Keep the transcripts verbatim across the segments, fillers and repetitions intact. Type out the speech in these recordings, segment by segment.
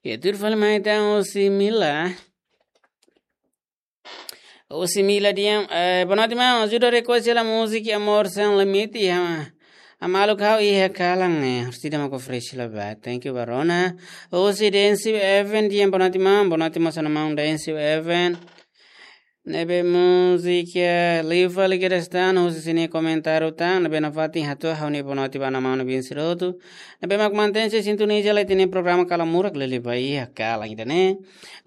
Ya, tuir fali mai ita husi Mila. Husi Mila di'ak, eh, boa noite, maun. Ajuda request hela múzika Amor Sem Limite, ha. Amaluk hau iha kalan, eh. Harus tidak mau fresh lah, ba. Thank you, Barona. Husi Densi Event di'ak, boa noite, maun. Boa noite, maun, sana maun Densi Event. Ne'ebé múzika liu fali kedas tan, husi sira-nia komentáriu tan, ne'ebé nafatin hato'o ha'u-nia boa noite ba maun-alin sira hotu. Ne'ebé mak mantense sintoniza lai ita-nia programa Kalan Murak, lele ba iha kalan ida-ne'e.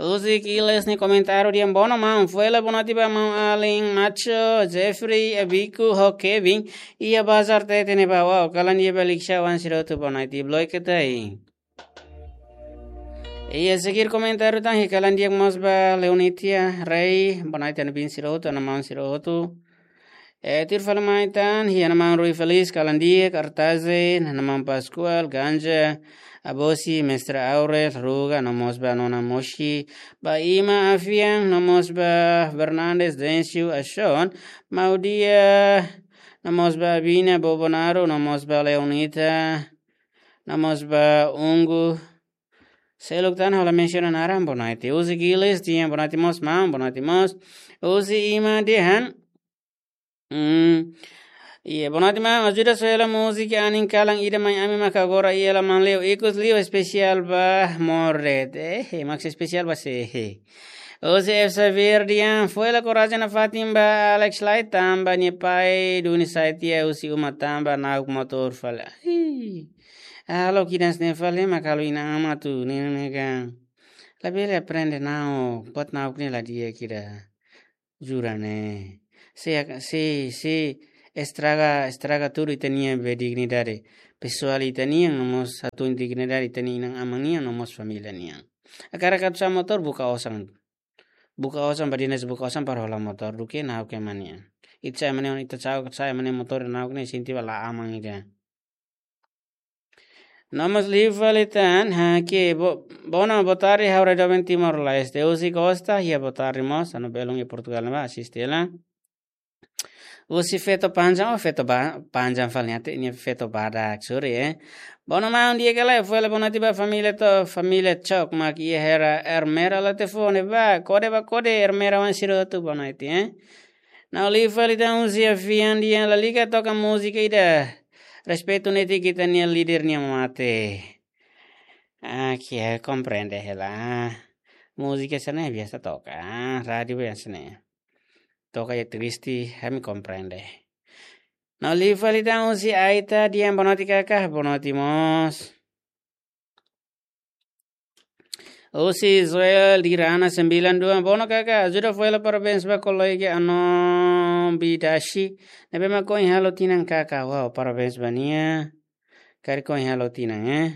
Husi Kiles nia komentáriu di'ak, boa noite maun, fó hela boa noite ba maun-alin Macho, Jeffrey, Abiku, ho Kevin, iha bazar Tete ne'ebá, kalan di'ak ba Liksha wan sira hotu, boa noite, bloke tai. Iha seguir komentáriu tan, iha kalan di'ak mós ba Leonitia Rei, boa noite maun-alin sira hotu, maun sira hotu. Eh, tuir fali mai tan, iha maun Rui Feliz, kalan di'ak, Artaze, maun Pascual, Ganja, Abosi, Mestre Aurel, Ruga, no mós ba Nona Moshi, ba Ima Afian, no mós ba Fernandes, Dencio, Ashon, Maudia, no mós ba Bina, Bobonaro, no mós ba Leonita, no mós ba Ungu. Seluk tan ha'u la mensiona naran, boa noite. Husi Giles di'ak, boa noite mós, maun, boa noite mós. Husi Ima dehan. Hmm. Iya, boa noite, maun. Ajuda soe hela múzika anin kalan ida mai ami maka agora iha laman liu. Ikus liu espesiál ba Morret. Eh, eh, mak espesiál ba sé, eh. Husi F Xavier di'ak, fó hela korajen nafatin ba Alex lai tanba nia pai duni sai tiha husi uma tanba na'ok motór fali. Ih. Halo kidas ne fali mak halo inan-aman atu ne'e ne'e kan. Labele aprende na'ok, buat na'ok ne'e la di'ak ida. Jura ne'e. Se, se, se estraga, estraga tudu ita-nia be dignidade pesoál ita-nian, no mós atu dignidade ita-nia inan-aman nian, no mós família nian. Hakarak atu sa'e motór buka osan. Buka osan ba dinas buka osan para hola motór duké na'ok ema nian. Ita sa'e ema nia, ita sa'e, sa'e ema nia motór na'ok ne'e sente ba la aman ida. No mós liu fali tan, ha, ke, bo-, boa noite, boa tarde, ha'u rai doben Timor-Leste. Husi Costa, iha boa tarde mós, anu belun iha Portugal ne'ebá asiste hela. Husi Feto Panjang, oh, Feto ba-, Panjang fali nia, nia Feto badak, sorry, eh. Boa noite maun, di'ak ka lae, fó hela boa noite ba família to, família Chok, mak iha hela Ermera la telefone ba, kode ba kode, Ermera wan sira hotu, boa noite, eh. No liu fali tan husi Afian di'ak, lalika toka múzika ida. Respeitu netik ita-nia líder nia mate. Ah, ke komprende hela. Múzika sira-ne'e biasa toka, ah, rádiu biasa ne'e. Toka ya triste, ami komprende. No liu fali tan husi Aita di'ak, boa noite kaka, boa noite mós. Husi Joel Dirana sembilan dua, boa noite kaka, ajuda fó hela parabéns ba kolega Anon Bidashi. Ne'ebé mak ohin halo tinan kaka, wow, parabéns ba nia. Karik ohin halo tinan, eh.